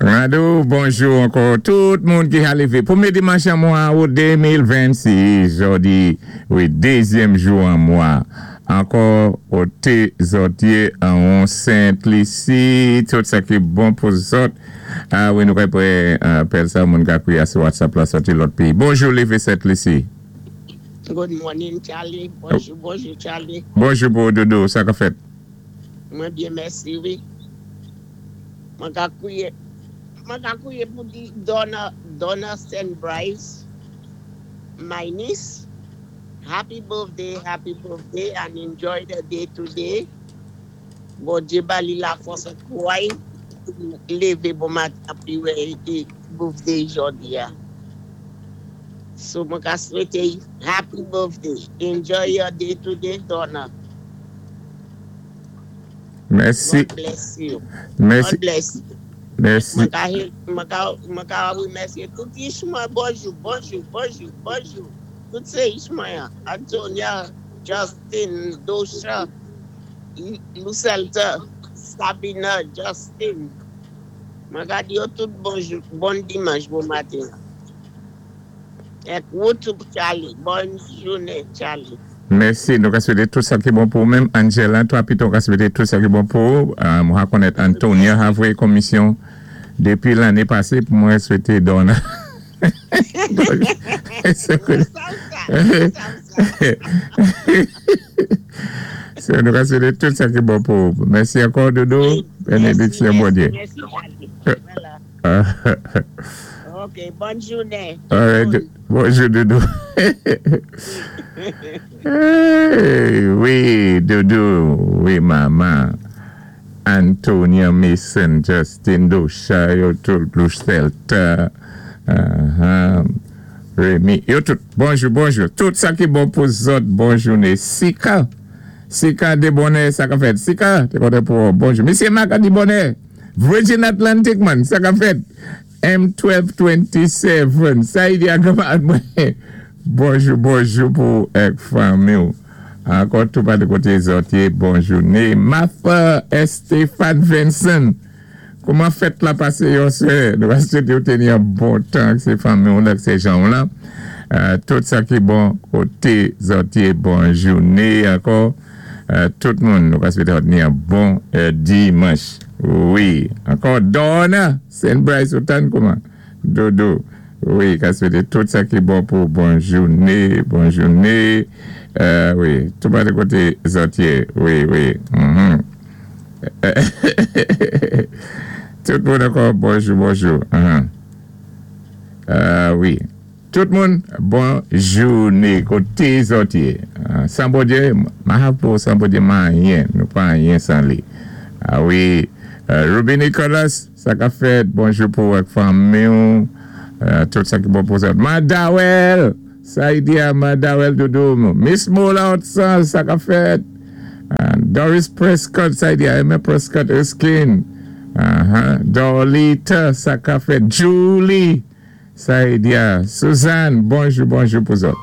Rado, bonjou ankò tout moun ki ha lévé. Pwémyé dimanch an mwa out 2026, jòdi, wi, dézyèm jou an mwa. Ankò, koté zòt yé anwon Sent Lisi, tout sa ki bon pou zòt. A wi, nou kay pré apèl sa moun ka kwiyé sou WhatsApp la sòti lòt péyi. Bonjou lévé Sent Lisi. Good morning, Charlie. Bonjou, bonjou, Charlie. Bonjou pou ou, Dodo. Sa ka fèt? Mwen byen, mèsi, wi. Mwen ka kwiyé, mwen ka kwiyé pou di Donna, Donna St. Bryce, my niece. Happy birthday, happy birthday, and enjoy the day today. Bondyé ba li lafòs ak kouway pou lévé bon maten pi wè birthday jòdi a. So mwen ka swété happy birthday. Enjoy your day today, Donna. Mèsi. God bless you. Mèsi. God bless you. Mèsi. Mwen ka wémèsyé tout ich mwen. Bonjou, bonjou, bonjou, bonjou. Tout sé ich mwen. Antonia, Justin, Dosha, Lucelta, Sabina, Justin. Mwen ka di yo tout bonjou, bon dimanch, bon maten. Èk wou tou, Charlie. Bòn jounen, Charlie. Mèsi. Nou ka swété tout sa ki bon pou ou menm. Angela, twa pito ka swété tout sa ki bon pou ou. Mwen ka konnèt Antonia ha voyé komisyon dépi lanné pasé pou mwen swété Donna. Mwen sav sa, mwen sav sa. So, nou ka swété tout sa ki bon pou ou. Mèsi ankò, Dodo. Wi, mèsi, Bénédiksyon mèsi, Bondyé. Mèsi, Charlie. Vwala. Ok, bòn jounen. All right. Moun. Bonjou, Dodo. Hey, wi, Dodo, wi, mama. Antonia Mason, Justin Dosha, yo tout, Lucelta, Remy, yo tout. Bonjou, bonjou. Tout sa ki bon pou zòt, bon jounen. Sika, Sika de bonè, sa ka fèt. Sika, té kontan pou ou. Bonjou. Misyé Maka di bonè. Virgin Atlantic man, sa ka fèt. M1227, sa y di a kanmarad mwen. Bonjou, bonjou pou èk fanmi ou. Ankò tou pa de koté zòt yé, bon jounen. Martha Estefan Vincent, kouman fèt la pasé yon sè? Nou va swété ou téni yon bon tan ak sé fanmi ou ak sé jan ou lan. Tout sa ki bon koté zòt yé, bon jounen ankò. Tout moun nou va swété ou ni yon bon dimanch. Wi, ankò Donna Saint Bryce ou tann kouman? Dodo, wi, ka swété tout sa ki bon pou bon jounen, bon jounen. Wi, tou pa de koté zòt yé. Wi, wi. Tout moun ankò bonjou, bonjou. Wi. Tout moun bon jounen koté zòt yé. San Bondye ma pou san Bondye ma anyen, nou pa anyen san li. A wi, Ruby Nicholas, sa ka fèt? Bonjou pou ou ak fanmi ou. Tout sa ki bon pou zòt. Madawel! Sa y di a Madawel doudou m. Miss Mola Hudson, sa ka fèt? Doris Prescott, sa y di a Emma Prescott Erskine. Dorlita, sa ka fèt? Julie! Sa y di a Suzanne, bonjou, bonjou pou zòt.